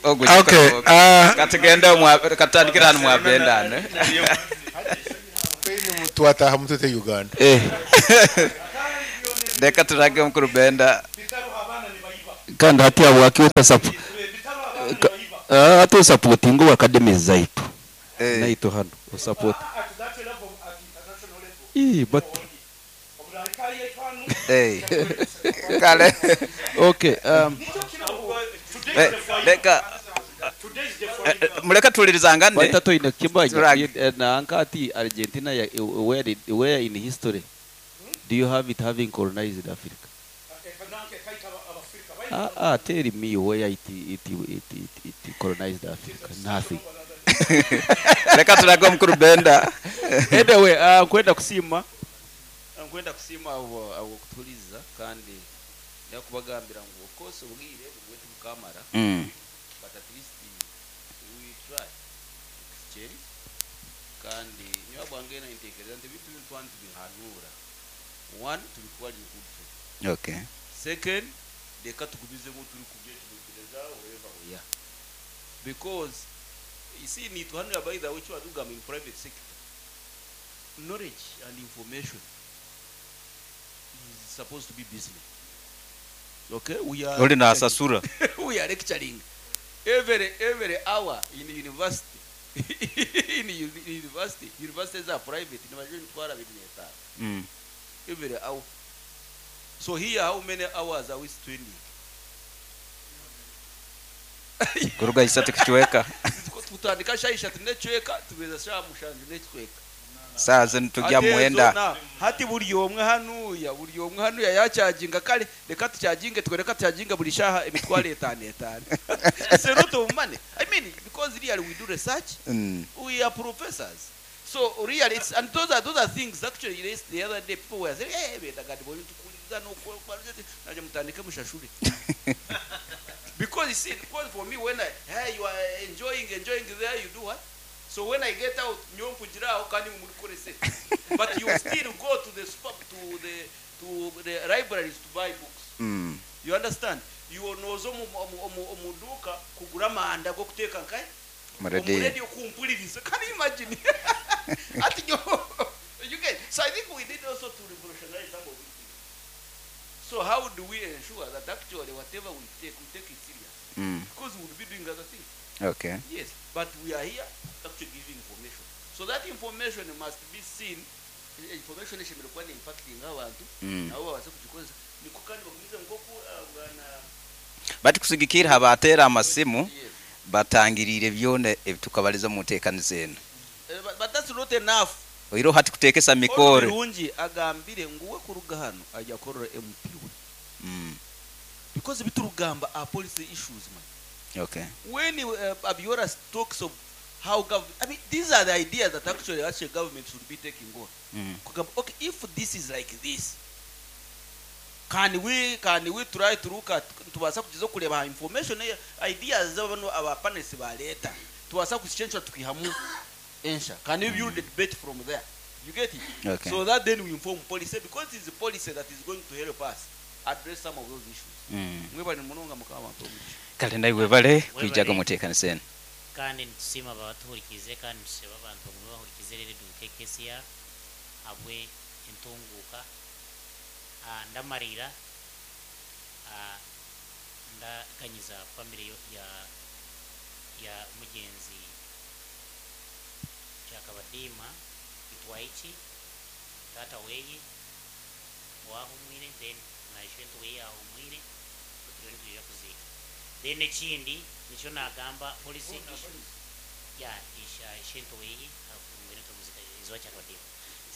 ogu Okay, uh, katugende omwa katandikira hano mwabendane. Twataha mutete Uganda. Eh. Reka turage omukuru Benda. Kandi hati habwaki otasapu ate osupportinga obu academies zaitu Eh. naitu hano osupport. Ii, but Eh. Kale. Okay, um, Eh, reka eh, eh, muleke tuwulirizangane. Baita toine kimanya Turage. eh, nanka ati Argentina ya, where, did, where in history do you have it having colonized Africa? Ah, ah, tell me where it, it, it, it, it colonized Africa. Nothing. Reka turage omukuru Benda. Anyway, uh, nkwenda kusiima nkwenda kusiima abo abo kutuliza kandi ndakubagambira ngu of course obwire bwe tubukamara Mm. but at least we try exchange kandi nyowe bwange nintekereza nti ebintu binu twani tubihanura one tubitwara in good faith. Okay. Second, reka tugumizemu turi kubyetegereza wherever we are, because you see nituhanura by the way tugamba in private sector knowledge and information is supposed to be business. Okay, we are Oli nasasura. we are lecturing every every hour in university in uni- university universities are private nibajwe mitwaro abiri n'etaano Mm. every hour. So here, how many hours are we spending? Kuruga isatu kichweka. Tutandika sha ishatu n'ecweka tubeza sha mushanju n'ecweka. Saa zino tujya Ate mwenda. zona, hati buri omwe hanuya buri omwe hanuya yachaginga kale reka tuchaginge twe reka tuchaginga buri shaha emitwaro etaano etaano. It's a lot of money. I mean, because really we do research. Mm. We are professors, so really it's, and those are those are things actually raised the other day. People were saying, hey, beta gadi boyo tukuliza no naje mutandike mushashure, because you see, because for me, when I, hey, you are enjoying enjoying there, you do what? So when I get out, nyo mpugiraho kandi murikorese, but you still go to the super, to the to the libraries to buy books. Mm. You understand? You nozo mu mu- mu- mu duka kugura amanda go kuteka nkaye Mu radio. radio kumpuliriza. Can you imagine? Ati nyo you get. So I think we need also to revolutionize some of these things. So how do we ensure that actually whatever we take, we take it serious? Mm. Because we will be doing other things. Okay. Yes, but we are here actually giving information, so that information must be seen. Eh, information eshemereire kuba ni impacting abantu Mm. nabo babase kugikozesa niko kandi bagumize nkoku uh, bwana Bati kusigikira habatera amasimu batangirire byona ebitukabaliza mu nteekaniza eno. Eh, but, but that's not enough. Oiro hati kuteekesa mikore. Birungi agambire nguwe kuruga hano ajya korora M P we Mm. because biturugamba are policy issues, man. Okay. When uh, Abiola talks of how government, I mean, these are the ideas that actually actually government should be taking on. Mm. Kugamba, okay, if this is like this, can we can we try to look at tubasa kugiza kureba information eh, ideas z'abano aba panelists ba leta tubasa kuzicensha tukihamu ensha? Can we build the debate from there? You get it? Okay. So that then we inform policy, because it's the policy that is going to help us address some of those issues. Mm. Mwebale munonga mukama wampe omugisha. Kale naiwe bale kwijaga mu nteekaniza eno. Kandi nitusiima abatuhurikize kandi nitusaba abantu bamwe bahurikize rero K K C R habwe entunguka. Ah, ndamarira ah, ndaganyiza family yo- ya ya mugenzi Kyakabadiima Itwaiki tata weye wahumwire, then naishentu weye ahumwire turiyo nitwija kuziika. Then ekindi nikyo nagamba policy issues ya isha ishentu weye ahumwire tumuzika izwa Kyakabadiima.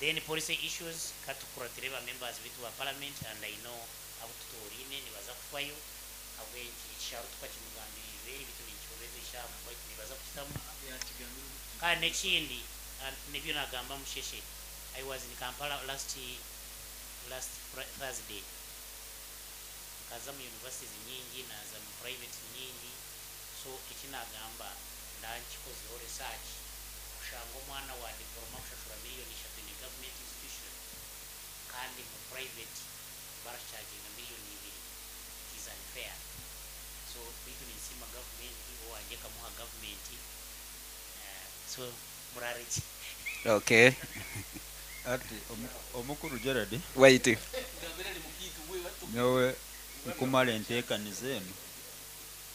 Then policy issues katukuratire ba members bitu ba parliament, and I know abo tutorine nibaza kufayo habwe ekisharo tukakimugambirize bitu ninkioreza ishamu nibaza kukitamu. Kandi nekindi ah, nibyo nagamba Musheshe, I was in Kampala last last Fri- Thursday, nkaza mu universities nyingi naza mu private nyingi. So ekinagamba ndankikozeho research kushanga omwana wa diploma kushashura miliyoni ishatu in a government institution kandi mu private baracharginga miliyoni ibiri. It is unfair. So bitu ninsiima. Kansima gavumenti owange kamuha gavumenti. Eh, so murareki. Okay. Ati omu- omukuru Gerard. Wait. Nyowe nkumara enteekaniza enu.